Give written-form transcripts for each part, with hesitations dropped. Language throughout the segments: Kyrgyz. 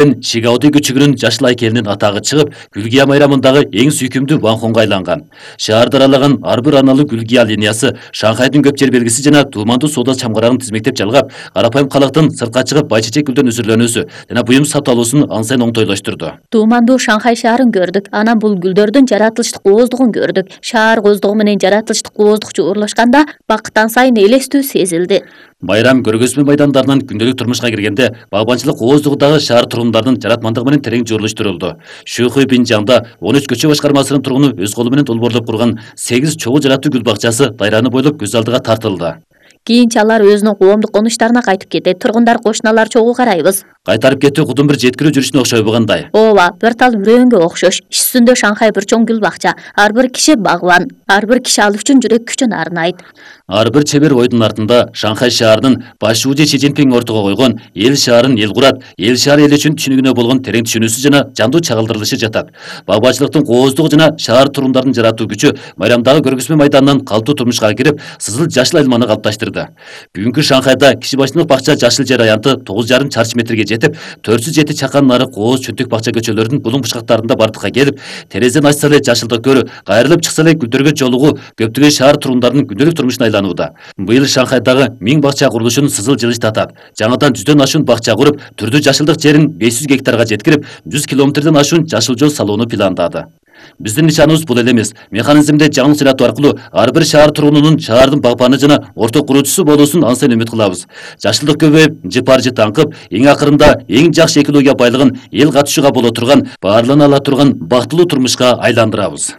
Шигауди күчүгүнүн жашыл айкелинин атагы чыгып, Гүлгия майрамындагы эң сүйкүмдүү ванхонго айланган. Шаарды аралаган ар бир арналуу Гүлгия линиясы Шанхайдын көп жер белгиси жана туумандуу соода чамгарагын тизмектеп жалгап, карапайым калктын сыртка чыгып бай чечек гүлдөн үзүрлөнүүсү жана буюм сатып алуусун ансайын оңтойлоштурду. Туумандуу Шанхай шаарын көрдүк. Анан бул гүлдөрдүн жаратылыштык ооздугун көрдүк. Шаар ооздугу менен жаратылыштык ооздук жуурулашканда бакыттан сайын элестүү сезилди. Байрам көргөзмө майдандарынан күндөлүк турмушка киргенде багбанчылык ооздугундагы шаар тургундардын жаратмандыгы менен терең журулуштурулду. Шухуй Бинжаңда 13 көчө башкармасынын тургуну өз колу менен долбоорлоп курган 8 чогуу жараттуу гүл бакчасы дайраны бойлоп көз алдыга тартылды. Кийинче алар өзүнүн коомдук конуштарына кайтып кетет. Тургундар кошуналар чогуу карайбыз. Кайтарып кетүү кудум бир жеткирүү жүрүшүнө окшойбу кандай? Ооба, бир тал үрөөнгө окшош. Иш жүзүндө Шанхай бир чоң гүл бакча. Ар бир киши багбан, ар бир киши ал үчүн жүрөк күчүн арнайт. Ар бир чебер ойдун артында Шанхай шаарынын башчысы Си Цзиньпин ортого койгон эл шаарын эл курат, эл шаар эл үчүн түшүнүгүнө болгон терең түшүнүүсү жана жандуу чагылдырылышы жатат. Багбанчылыктын кооздугу жана шаар тургундарын жаратуу күчү майрамдагы көргөзмө майданынан калктуу турмушка кирип, сызыл жашыл айлманы калыпташтырды. Бүгүнкү Шанхайда киши башынын бакча жашыл жер аянты 9,5 чарчы метрге жетип, 407 чакан нары кооз чөнтүк бакча көчөлөрүнүн булуң бушкактарында бардыкка келип, терезеден ачса эле жашылдык көрүү, кайрылып чыкса эле гүлдөргө жолугуу көптөгөн шаар тургундарынын күндөлүк турмушуна айланууда. Быйыл Шанхайдагы 1000 бакча курулушун сызыл жылыштатат. Жаңадан 100дөн ашуун бакча куруп, түрдүү жашылдык жерин 500 гектарга жеткирип, 100 километрден ашуун жашыл жол салууну пландады. Биздин нишаныбыз бул эле эмес. Механизмде жаңылык жаратуу аркылуу ар бир шаар тургунунун шаардын багбаны жана орток куруучусу болуусун ансайын үмүт кылабыз. Жашылдык көбөйүп, жыпар-жыт аңкып, эң акырында эң жакшы экология байлыгын эл катышууга боло турган, баарлана ала турган бактылуу турмушка айландырабыз.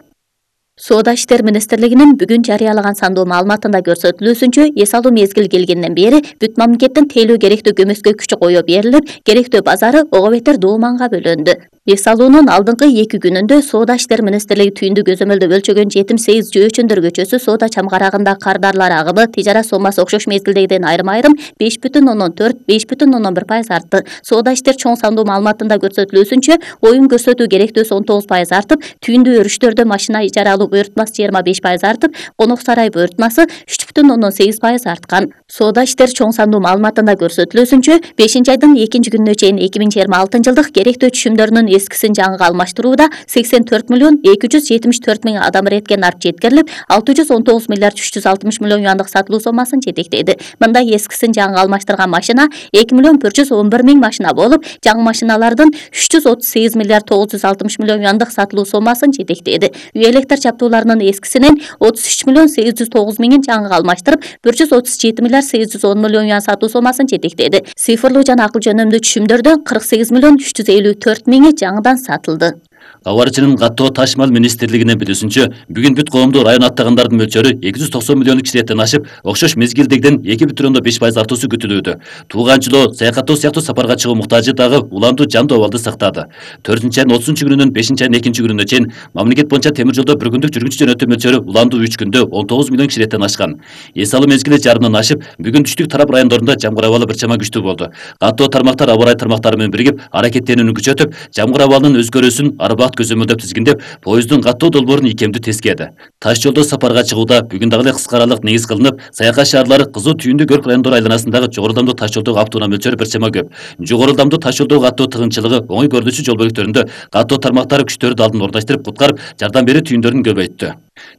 Соода иштер министрлигинин бүгүн жарыялаган сандуу маалыматында көрсөтүлүүсүнчө, эс алуу мезгили келгенден бери бүт мамлекеттин тейлөө керектүү көмөскө күчү коюу берилип, керектүү базары ого бетер дооманга бөлөндү. Эс алуунун алдыңкы 2 күнүндө Соода иштер министрлиги түйүндү көзөмөлдө өлчөгөн жетим сейиз жөөчөндөр көчөсү соода чамгарагында кардарлар агымы, тижарат соммасы окшош мезгилдегиден айрым-айрым 5,4–5,1% артты. Соода иштер чоң сандуу маалыматында көрсөтүлүүсүнчө, оюн көрсөтүү керектөөсү 19% артып, түйүндүү өрүштөрдө машина ижара алуу буйртмасы 25% артып, конок сарай буйртмасы 3,8% арткан. Соода иштер чоң сандуу маалыматында көрсөтүлүүсүнчө, 5-айдын 2-күнүнө чейин 2026 жылдык керектөө түшүмдөрүнүн эскисин жаңыга алмаштырууда 84,274,000 адам иреткен арт жеткирилип, 619,360,000,000 юандык сатылуу соммасын жетектеди. Мындай эскисин жаңыга алмаштырган машина 2,111,000 машина болуп, жаңы машиналардын 338,960,000,000 юандык сатылуу соммасын жетектеди. Үй электр чаптууларынын эскисинен 33,809,000 жаңыга алмаштырып, 137,810,000,000 юан сатуу соммасын жетектеди. Цифрлуу жана акыл жөнөмдүү түшүмдөрдөн 48,354,000 жаңыдан сатылды. Кабарчынын каттоо ташмал министрлигинин билүүсүнчө, бүгүн бүт коомдук район аттагандардын мөлчөрү 290 миллион кишилеттен ашып, окшош мезгилдегиден 2,5% артуусу күтүлүүдө. Тууганчылоо, саякаттоо сыяктуу сапарга чыгуу муктажы дагы уламдуу жандуу абалды сактады. 4-айдын 30-күнүнөн 5-айдын 2-күнүнө чейин мамлекет боюнча темир жолдо бір күндүк жүргүнчү жөнөтүү мөлчөрү уламдуу 3 күндө 19 миллион кишилеттен ашкан. Эс алуу мезгили жарымдан ашып, бүгүн түштүк тарап райондорунда жамгыр абалы бир чама күчтүү болду. Каттоо тармактар аба ырайы тармактары менен биригип, аракеттенүүнү күчөтүп, жамгыр абалынын өзгөрүүсүн арбакт көзөмөлдөп тизгиндеп, поезддун каттоо долбоорун икемдүү тескеди. Таш жолдо сапарга чыгууда бүгүн дагы эле кыска аралык негиз кылынып, саякат шаарлары кызуу түйүндүү көрк райондору айланасындагы жогору ылдамдуу таш жолдогу автоунаа мөлчөрү бир чама көп. Жогору ылдамдуу таш жолдогу каттоо тыгынчылыгы оңой көрүнүчү жол бөлүктөрүндө каттоо тармактары күчтөрдү алдын орундаштырып, куткарып, жардам берүү түйүндөрүн көбөйттү.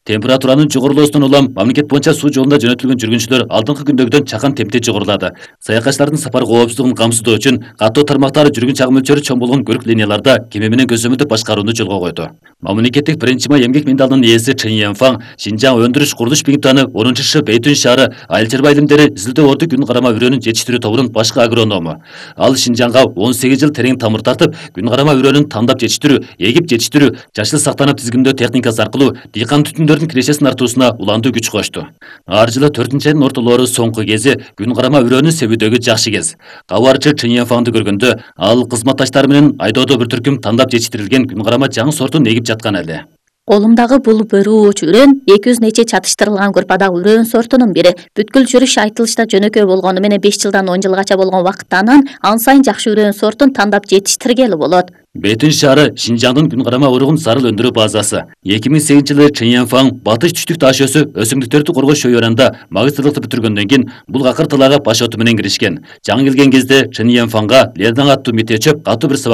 Температуранын жогорулоосунан улам мамлекет боюнча суу жолунда жөнөтүлгөн жүргүнчүлөр алдыңкы күндөгүдөн чакан темпте жогорулады. Саякатчылардын сапар коопсуздугун камсыздоо үчүн каттоо тармактары жүргүн чагым мөлчөрү чоң болгон көрк линияларда кеме менен көзөмөлдөп башкарууну жолго койду. Мамлекеттик биринчи май эмгек медалынын ээси Чын Янфаң, Шинжаң өндүрүш курулуш биңтаны 10-Ш Бейтүн шаары айыл чарба илимдери изилдөө орду күн карама үрөөнүн жетиштирүү тобунун башкы агроному. Ал Шинжаңга 18 жыл терең тамыр тартып, күн карама үрөөнүн тандап жетиштирүү, эгип жетиштирүү, жашыл сактанып тизгиндөө техникасы аркылуу дыйкан түтүндөрдүн кирешесин артуусуна уламдуу күч кошту. Ар жылы 4-айдын ортолору соңку кези күн карама үрөөнү себүүдөгү жакшы кез. Кабарчы Чын Янфаңды көргөндө, ал кызматташтары менен айдоодо бир түркүм тандап жетиштирилген күн карама жаңы сортун эгип жаткан эле. Колумдагы бул бөрүүч үрөөн 200 нече чатыштырылган группадагы үрөөн сортунун бири. Бүткүл жүрүш айтылышта жөнөкөй болгону менен 5 жылдан 10 жылгача болгон вакыттан ан сайын жакшы үрөөн сортун тандап жетиштиргели болот. Бейтүн шаары Шинжаңдын күн карама уругун зарыл өндүрүү базасы. 2008 жылы Чын Янфаң батыш түштүк таш өсү өсүмдүктөрдү коргоо шөйөранда магистрлыкты бүтүргөндөн кийин бул акыр талаага баш оту менен киришкен. Жаңы келген кезде Чын Янфаңга Лердаң аттуу метеочөп катуу бир сабак